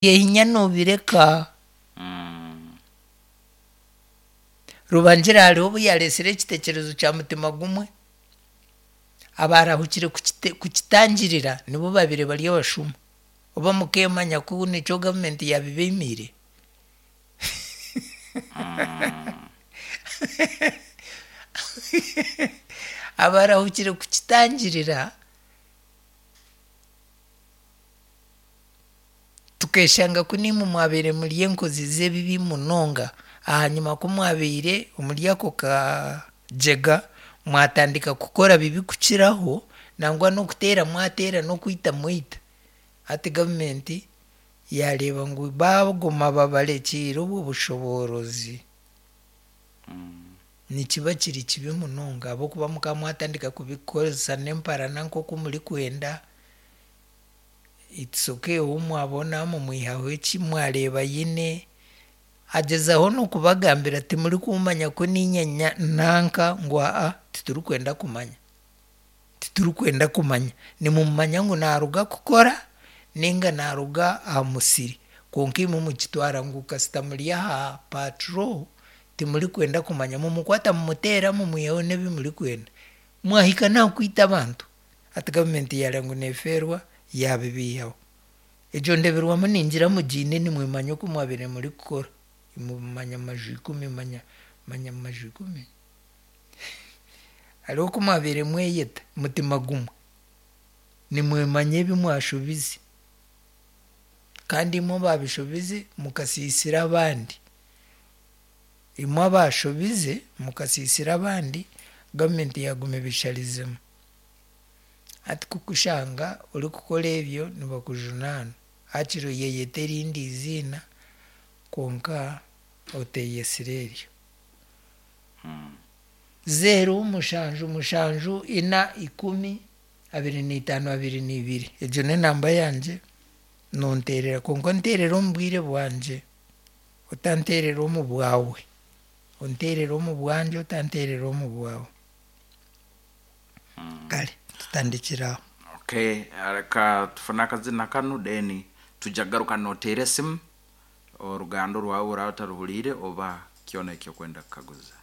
Ebinya noobireka. Rubangira hariho obu yaareetsire ekiteekyerezo kya mutima gumwe, abaarahukire kukitangirira nibo baabaire bari abashuma. Oba mukeemanya ku nikyo gavumenti yaabibaimiire? Abaarahukire kukitangirira. Tukeshanga ku naimwe mwabaire muri enkozi z'ebibi munonga, ahanyima ku mwabaire omuri ako kagyega mwatandika kukora bibi kukiraho, nangwa n'okuteera mwateera n'okwita mwaita. Hati gavumenti yaareeba ngu baaguma babarekiire obwo bushoboorozi, nikiba kiri kibi munonga ahabw'okuba mukaba mwatandika kubikozesa n'emparana nk'oku murikwenda. It's ok ou mwabona mumwihaho eki mwareeba aine, agyezaho n'okubagambira timurikumanya ku niinye nanka ngu aa titurikwenda kumanya, titurikwenda kumanya. Nimumanya ngu naaruga kukora nainga naaruga aha musiri kwonka imwe mukitwara ngu kasita muri aha patrol timurikwenda kumanya mumukwata mumuteera mumwihaho n'ebi murikwenda. Mwahika n'aha kwita abantu. Hati gavumenti yaareeba ngu neefeerwa yaabibiihaho. Egyo ndeeberwamu ningira mugiine nimwemanya oku mwabaire murikukora. Imwe manya amaju ikumi manya manya amaju ikumi? Hariho oku mwabaire mweyeta mutima gumwe. Nimwemanya ebi mwashobize. Kandi imwe abaabishobize mukasiisira abandi. Imwe abaashobize mukasiisira abandi, gavumenti yaaguma ebisharizemu. Hati kukushanga orikukora ebyo nibakujunaana. Hakiri oyeyeta erindi eiziina kwonka oteeyetsire eryo. Zeero mushanju mushanju ina ikumi 25 22 egyo n'enamba yangye nonteerera kwonka onteerere omu bwire bwangye otanteerera omu bwawe. Onteerere omu bwangye otanteerera omu bwawe. Kare tutandikire aho. Okay, reka tufune akazina kanu then tujja kugaruka noteera esimu oruganda orwawe oraba otaruhuriire oba kyona eki okwenda kukaguza.